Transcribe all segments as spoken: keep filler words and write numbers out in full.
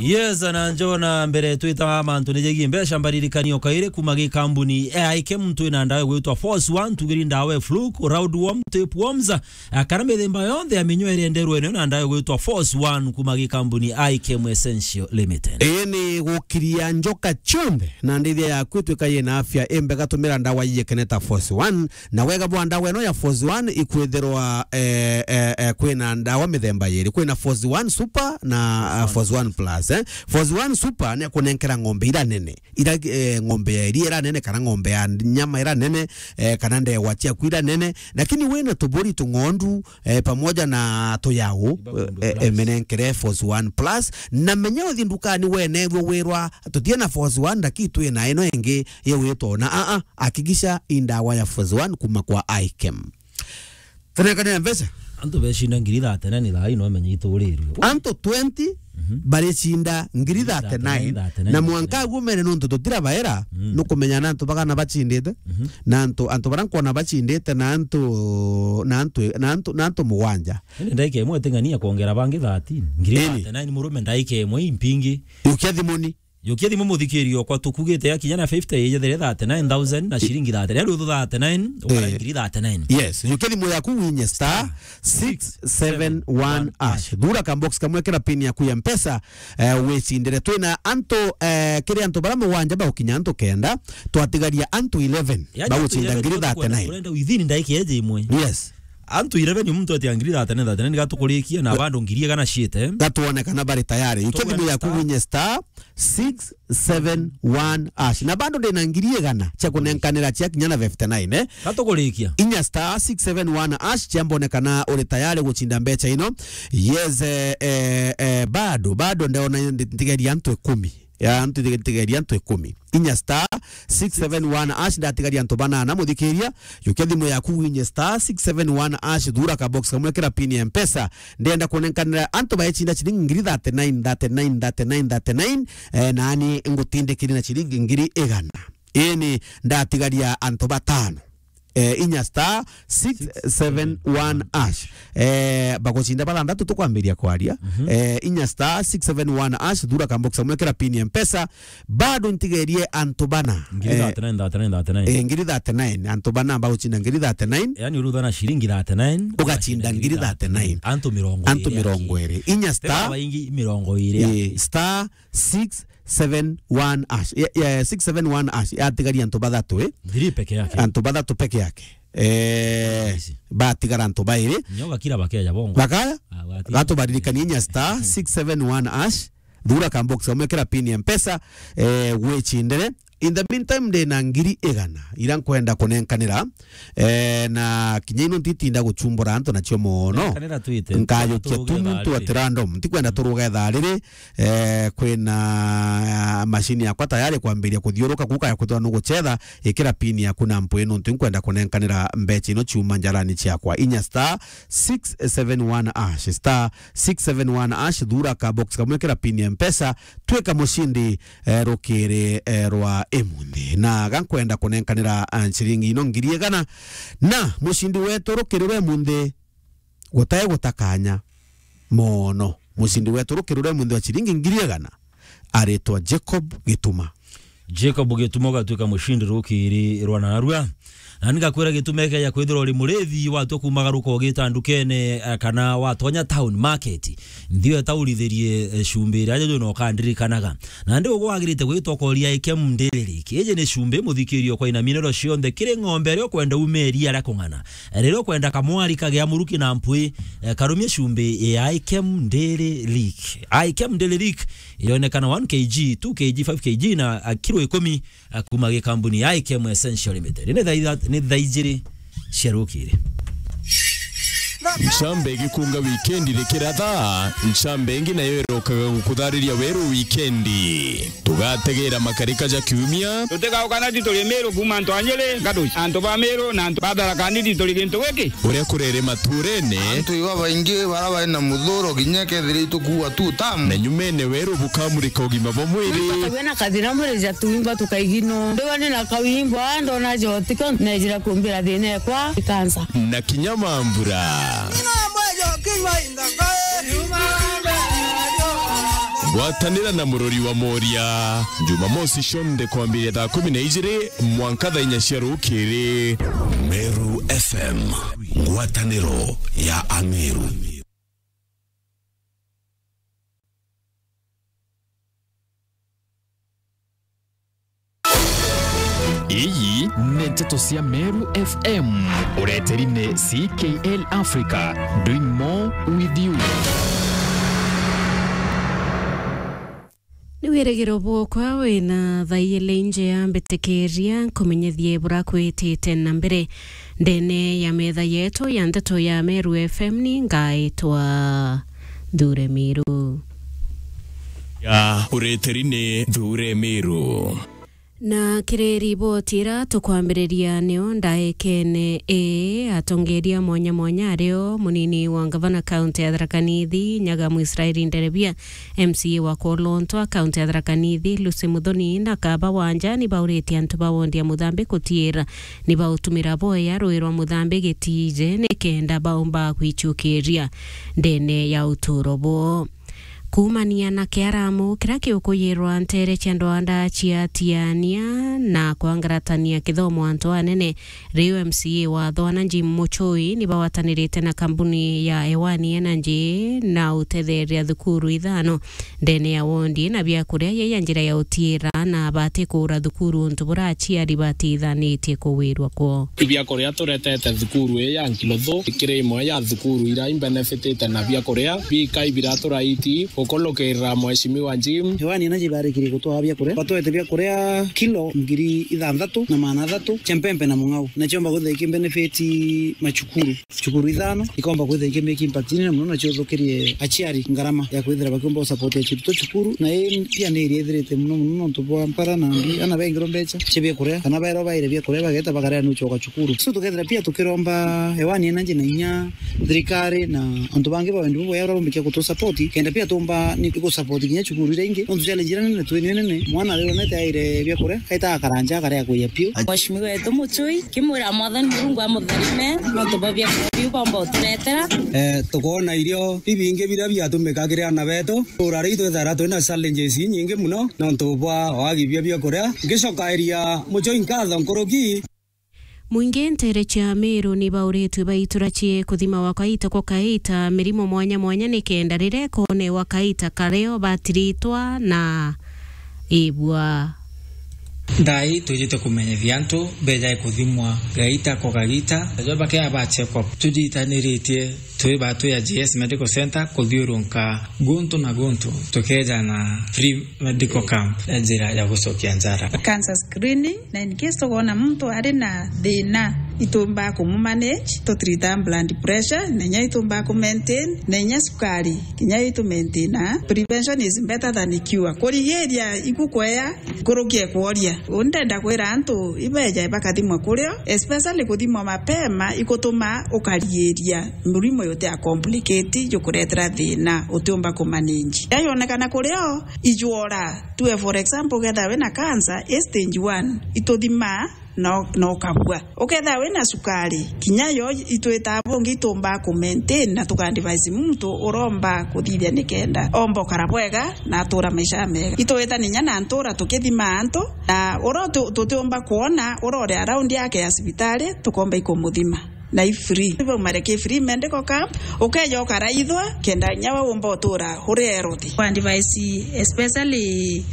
Yes, na njona mbere twita mantu ni jegie mbeca, mbaririkania o kairi kuma gikambuni e aike muntu ina ndawa gwitwa Force One, tugiri ndawa e Fluke, Round Worm, Tapeworms, a, kana mithemba yonthe ya minyoo iria enderwe nayo na ndawa gwitwa Force One kuma gikambuni Ikem Essential Limited. Ii ni gukiria njoka cionthe na ndithia yaku itwika yina afya imbega, tumira ndawa ii ikeneta Force One. Na wega bwa ndawa ino ya Force One ikwithirwa, eh, eh, eh, kwina ndawa mithemba yiri. Kwina Force One Super na, ah, Force One Plus, eh. Force One Super ni kunenkera ng'ombe ira nene. Ira, eh, ng'ombe ya iria ira nene, kana ng'ombe ya nyama ira nene, eh, kana ndewa ciaku ira nene. Lakini wina tuburi tung'ondu, eh, pamoja na tuyau, eh, eh, menenkere Force One Plus. Na menya uthi ndukani wene wirwa, tutie na Force One, lakini twina ino ingi yigwitwa na, a, a, hakikisha i ndawa ya Force One kuma kwa Ikem. Tunenkane mbeca. Antu becinda ngiri thirty-nine thaa ino amenye iturirwe. Antu twenty baricinda ngiri thirty-nine. Thirty-nine, thirty-nine. Na mwanka aguo mene nontu tutira baera, nukumenya na antu bagana bacindite, na antu, antu bara nkwona bacindite, na antu, na antu, na antu, na antu mugwanja. Indi ndaika imwe iting'ania kwongera bangi thirteen. Ngiri thirty-nine murume ndaika imwe impingi. Yukia thimuni. Yukia thimu muthikiri okwa, tukugite ya kinya na fifty, ijethire thirty-nine thousand na ciringi thirty-nine, riu thirty-nine, ukara ngiri thirty-nine. Yes, yukia thimu yaku winye star six seven one hash. Thura ka box kamwe, kira pin yaku ya Mpesa, eh, wicindire. Twina antu, eh, kiri antu bara mugwanja bagukinya antu kenda, twatigaria antu eleven bagucinda ngiri thirty-nine. Kurenda within ndaika eje imwe. Yes. Antu eleven muntu atia ngiri thirty-nine, thirty-nine gatukurikia na bado ngiri igana ciite. Gatuone kana bari tayari. Yukia thimu yaku winye star six seven one hash. Na bado ndina ngiri igana cia kunenkanira cia kinya na fifty-nine, eh? Gatukurikia. Inya star six seven one hash, ciambone kana uri tayari gucinda mbeca ino. Yes, eh, eh, eh, bado, bado ndona ntigeria antu ikumi. Ya antu ntigeria antu ikumi. Inya star six seven one hash, ndatigaria antu banana, muthikiria. Yukia thimu yaku winye star six seven one hash, thura ka box kamwe, kira pin ya Mpesa. Ndenda kunenkanira antu baecinda ciringi ngiri thirty-nine, thirty-nine, thirty-nine, thirty-nine, eh, nani ngutindikiri na ciringi ngiri igana. Ini ndatigaria antu batano. Eh, inya star six seven one hash. Eh, bagucinda bathanthatu tukwambiria kwaria. Eh, inya star six seven one hash, thura ka box kamwe, kira pin ya Mpesa. Bado ntigerie antu bana. Ngiri thirty-nine, thirty-nine, thirty-nine. Eh, ngiri thirty-nine, antu bana bagucinda ngiri thirty-nine. Yani, urutha na ciringi thirty-nine, ugacinda ngiri thirty-nine. Antu mirongo iri. Antu mirongo iri. Inya star. Tena baingi mirongo iri. Eh, star six seven one hash. Ya, ya, six seven one hash. Yatigaria antu bathatu, eh? Thiri peke yake. Antu bathatu peke yake. Eh, batigara antu bairi. Nyo gakira bakeja bongo. Bakaya? Ah, gati. Gatubaririkania inya star six seven one hash. Thura ka box kamwe, kira pin ya Mpesa, eh, gwicindire. In the meantime, ndina ngiri igana ira nkwenda kunenkanira, eh, na kinya ino ntitinda guchumbura antu nacio mono. Nenkanira twite. Nkajukia tu muntu at random. Ntikwenda turuga ithaa riri, eh, kwina, ah, mashini yakwa tayari kwambiria kuthiuruka kuka ya kwithirwa nugucetha, ikira pin yaku na mpwi nontu nkwenda kunenkanira mbeca ino ciuma njarani ciakwa. Inya star six seven one hash, star six seven one hash, thura ka box kamwe, kira pin ya Mpesa, twika mucindi, eh, rukiri, eh, rwa imunthi. Na ga nkwenda kunenkanira, ah, ciringi ino ngiri igana. Na mucindi wetu rukiri rwa imunthi, gutai gutakanya mono. Mucindi wetu rukiri rwa imunthi wa ciringi ngiri igana aritwa Jacob Gituma. Jacob Gituma ugatuika mucindi rukiri rwa narua. Na ngakwira Gituma ekeja kwithirwa uri murithi, watua kumagaruka ugita ndukene, eh, kana watonya town market, nthio etaurithirie, eh, cumbi iria ajojo na ukandirikanaga. Na ndi uguo wagirite gwitwa ukoria Ikem Dairy Lick. Iji ni cumbi muthikirio kwa ina mineral cionthe kiri ng'ombe iria ukwenda ume iria ria kung'ana. Riria ukwenda kamwari kagea muruki na mpwi, eh, karumie cumbi ya Ikem Dairy Lick. Ikem Dairy Lick ionekana one K G, two K G, five K G na, ah, kilo ikumi, ah, kuma gikambuni ya Ikem Essential Limited. Ni thaa itha-, ni thaa ijiri cia rukiri. Ncambe igikunga wikendi rikiratha, ncambe ingi nayo irokaga gukuthariria weru wikendi. Tugategera makarika ja kiumia. Tutigauka na tituri Miru kuma antu a Nyiri, Gaduci, antu ba Miru na antu ba Tharaka Nithi turi gintu giki. Uria kurere maturene. Antu iba baingi bara bari na muthuro kinya kethira itukuua tu tamu. Na nyumene weru bukamurika ugima bwa mwiri. Wina kathina mwiri ja tuimba tukaigino. Ndiwa ni na kawimbo, ndona jotiko, nejira kumbira thina ekwa ikansa. Na kinya mambura. Gwatanira na Murori wa Moria, Jumamosi cionthe kwambiria thaa kumi na ijiri mwanka thaa inya cia rukiri. Meru F M, ngwataniro ya Ameru. Iyi ni nteto cia Meru F M, ureteri ni C K L Africa, doing more with you. Ni wirigiro bwokwa wina thaiyele inje ya mbitikiria nkumenyethie bura kwitite na mbere ndene ya metha yetu ya nteto ya Meru F M. Ni ngaitwa Thure Miru. Ya ureteri ni Thure Miru. Na kiri riboti ira tukwambiriria nio ndaikene ii, atongeria mwanya mwanya ario munini wa ngavana kaunti ya Tharaka Nithi, Nyagamu Israeli Nderebia, M C A wa Kwolontwa kaunti ya Tharaka Nithi, Lucy Muthoni na Kaba Wanja ni bauritie antu ba wondi ya Muthambi kutiira ni bautumira boya rui rwa Muthambi gitije nikenda baumba kwichukiria ndene ya uturo bwoo. Kuumania na kiaramu kiria kiukuyirwa nteere cia ndwanda cia Tiania na kwangaratania kithomo antu anene, riu M C A wa Thwana Jim Muchui ni bawatanirite na kambuni ya Ewani Energy na utetheria thukuru ithano ndene ya wondi na biakuria yei ya njira ya utiira na bati kuura thukuru untu buria aciari batithanitie kuwirwa kwoo. Ibiakuria turetete thukuru ii ya Nkilothu ikiri imwe ya thukuru iria imbenefitite na biakuria bikai biratura iti gukulukirira Mheshimiwa Jim. Ewani Energy barikirie gutwaa biakuria, batwete biakuria kilo ngiri ithanthatu na maana athatu cia mpempe na mung'au, na ciomba kwithira ikimbenefiti macukuru. Cukuru ithano ikomba kwithira ikimake impact inene mono, na ciuthukirie aciari ngarama ya kwithira bakiumba gusupportia ciruto cukuru, na ii pia ni iria ithirite mono mono nontu bwa mpara na mbi, ana baingirwa mbeca cia biakuria, kana baerwa baire biakuria bageta bakaria ni ucoka cukuru. So tukethira pia tukiromba Ewani Energy na inya thirikari na antu bangi ba wendi bubwega baria baumbikia gutu support, kenda pia tumba ni gu support kinya cukuru iria ingi. Nontu challenge iria nene twinio nene, mwana riu onete aire biakuria, aita akaranja akaria kuya piu. Mheshimiwa wetu Muchui, kimwira Mwathani Murungu amutharime, nontu bwa biakuria biu bomba uturetera. Eh, tukoona irio bibingi biria biatumika kiri ana betu. Ura riu twithagirwa twina challenges inyingi mono nontu bwa wagi bia biakuria. Ngicokairia Muchui nkatho nkuruki. Mwingi nteere cia Meru ni bauritue baitura cie kuthima wa kaita kwa kaita mirimo mwanya mwanya nikenda riria ikonewa kaita kario batiritwa na ibua. Thaa ii twijite kumenyithia antu bejae kuthimwa gaita kwa gaita, najua bakea ba check up. Tujitaniritie twi batwi ya G S Medical Center kuthiurunka guntu na guntu tukeja na free medical camp ya njira ya gucokia njara. Cancer screening, na in case tukoona muntu ari na thina, itumbaa kumumanage, tutreata blood pressure, na inya itumbaa kumaintain, na inya sukari, kinya itumaintaina. Prevention is better than cure. Kurigiria iku kwea nkuruki e kworia. Uu ndenda kwira antu ibeja bakathimwa kurio, especially kuthimwa mapema ikutuma ukarigiria murimo juti a complicate jukuretera thina utiumba kumanage. Riria yonekana kurio, ijwora. Tue for example, ukethira wina cancer, i stage one, ituthimaa na, na ukabua. Ukethira wina sukari, kinya yo itwitaa bungi itumbaa kumaintain na tukaadvise muntu uromba kuthithia nikenda omba ukara bwega na atura maisha mega. Itwita ninya na ntura tukithimaa antu, na uria tu-, tutiumba kwona uria uri around yake ya cibitari, tukomba ikumuthima. Na i free. Baumare ki free medical camp, ukeja ukaraithwa, kenda inya we umba utura uri healthy. Kwa advice, especially,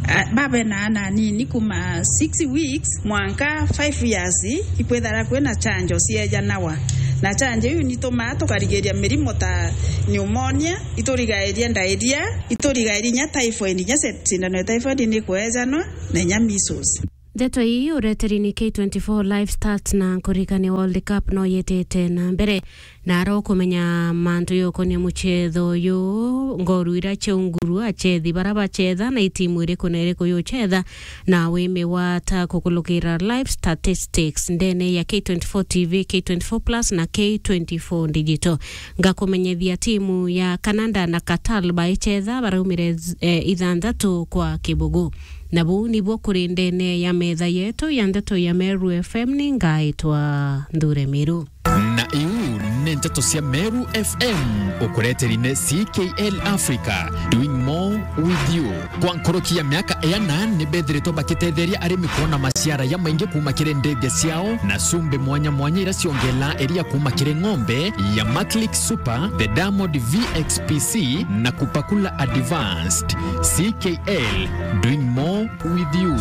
ah, babe na ana anini kuma six weeks mwanka five years, ikwithara kwina chanjo ciejanawa. Na chanjo iu nitumaa tukarigiria mirimo ta pneumonia, iturigairia diarrhea, iturigairia inya typhoid, inya se-, sindano ya typhoid ni kwejanwa, na inya measles. Ndeto ii ureteri ni K twenty-four Live Stats na nkurikania World Cup no yetete na mbere. Na ara ukumenya mantu yokonia muchetho uyu, ngoru ira cia Unguru, achethi bara bachetha na itimu iriku na iriku yuchetha, na wimigwata kukulukira live statistics ndene ya K twenty-four T V, K twenty-four Plus na K twenty-four Digital. Ngakumenyethia timu ya Canada na Qatar baichetha baraumire, eh, ithanthatu kwa kibugu. Na buu nibuo kuri ndene ya metha yetu ya ndeto ya Meru F M, ni ngaitwa Nthure Miru. Na iu ni Nteto cia Meru F M ukureteri ni C K L Africa, doing more with you. Kwa nkoroki ya miaka iana ni bethiritwe bakitetheria arimi kuona maciara ya maingi kuma kiri ndithia ciao na cumbi mwanya mwanya iria ciongela iria kuma kiri ng'ombe ya Maclick Super, the Diamond V X P C na Kupakula Advanced. C K L, doing more with you.